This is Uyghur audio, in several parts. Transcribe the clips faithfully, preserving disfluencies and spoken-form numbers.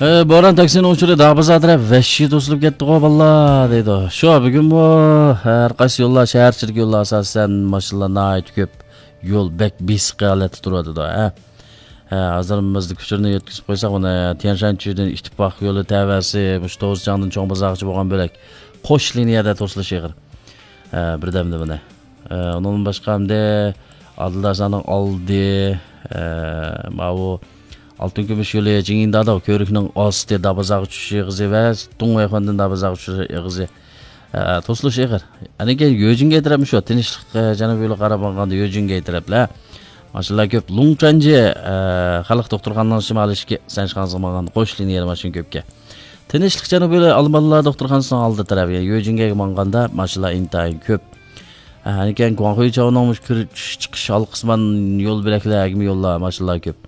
ئە، بوران تاكسىنىڭ ئۇچۇرى دابازار تەرەپ ۋەھشىي توسۇلۇپ كەتتىغۇ باللا دەيدۇ. شۇ بۈگۈنمۇ ھەر قايسى يوللار، شەھەر ئىچىدىكى يوللار ئاساسەن ماشىنىلار ناھايىتى كۆپ. يول بەك بېسىق ھالەتتە تۇرۇۋاتىدۇ، ھە. ھە، ھازىر مىزدىك ئۇچۇرىنى يەتكۈزۈپ قويساق، ئۇنى تيەنشانچۈدىن ئىتتىپاق يولى تەۋەسى، مۇشۇ توزىچاڭدىن چوڭ بازارغىچە بولغان بۆلەك قوش لىنىيەدە توسۇلۇش ئېغىر. ھە، بىردەمدە بۇنى. ئە، ئۇنىڭدىن باشقا ئەمدى ئادىلداشلارنىڭ ئالدى، ئە، ماۋۇ ئالتۇن كۈمۈش يولى جىڭيىنداداۋ كۆۋرۈكنىڭ ئاستى دابازاغا چۈشۈش ئېغىزى ۋە دۇڭۋەيخۇەندىن دابازاغا چۈشۈش ئېغىزى، ئە، توسۇلۇش ئېغىر. ئەنە كېيىن يۆجىنگەي تەرەپمۇ شۇ، تىنچلىق، ئە، جەنۇبىي يولىغا قاراپ ماڭغاندا يۆجىنگەي تەرەپلەر. ماشىنىلار كۆپ. لۇڭچەنجى، ئە، خەلق دوختۇرخانىنىڭ شىمالىي ئىشىكى، سەنشىخاڭزىغا ماڭغاندا قوش لىنىيەدە ماشىنا كۆپكەن. تىنچلىق جەنۇبىي ئالمانلار دوختۇرخانىسىنىڭ ئالدى تەرەپ، يەنى يۆجىنگەيگە ماڭغاندا ماشىنىلار ئىنتايىن كۆپ. ھە، ئەنىكەن گۇاڭخۇي چاۋنىڭ مۇشۇ كىرىش چىقىش ھالقىسىمان يول بۆلەكلەر، ئەگمە يوللار ماشىنىلار كۆپ.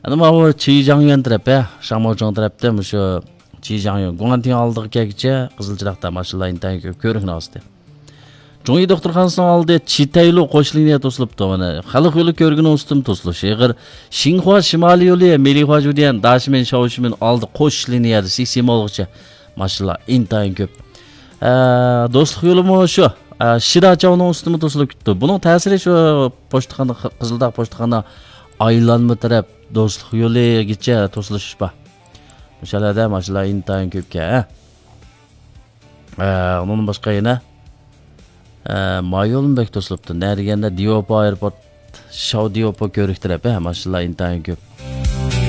ئەنە ماۋۇ چى جاڭيۈەن تەرەپ، ھە، شاڭماۋچىڭ تەرەپتە مۇشۇ چى جاڭيۈەن، گۇاڭتىڭ ئالدىغا كەلگۈچە قىزىل چىراغدا ماشىنىلار ئىنتايىن كۆپ، كۆۋرۈكنىڭ ئاستى. جۇڭيى دوختۇرخانىسىنىڭ ئالدى چىتەيلۇ قوش لىنىيە توسۇلۇپتۇ. مانا خەلق يولى كۆۋرۈكىنىڭ ئۈستىمۇ توسۇلۇش ئېغىر. شىنخۇا شىمالىي يولى، مېلىخۇا جۇديەن، داشىمېن، شاۋشىمېن ئالدى قوش لىنىيەدە سىسىمولغىچە ماشىنىلار ئىنتايىن كۆپ. ئە، دوستلۇق يولىمۇ شۇ. ئە، شىداچاۋنىڭ ئۈستىمۇ توسۇلۇپ كېتىپتۇ. بۇنىڭ تەسىرى شۇ پوچتىخانا، قىزىلداغ پوچتىخانا ئايلانما تەرەپ دوستلۇق يولىگىچە توسۇلۇش بار. مۇشۇ يەردە ماشىنىلار ئىنتايىن كۆپكەن، ھە. ئە، ئۇنىڭدىن باشقا يەنە، ئە، ما يولمۇ بەك توسۇلۇپتۇ. نە دېگەندە دىيوپا ئايروپورت، شاۋ دىيوپا كۆۋرۈك تەرەپ، ھە، ماشىنىلار ئىنتايىن كۆپ.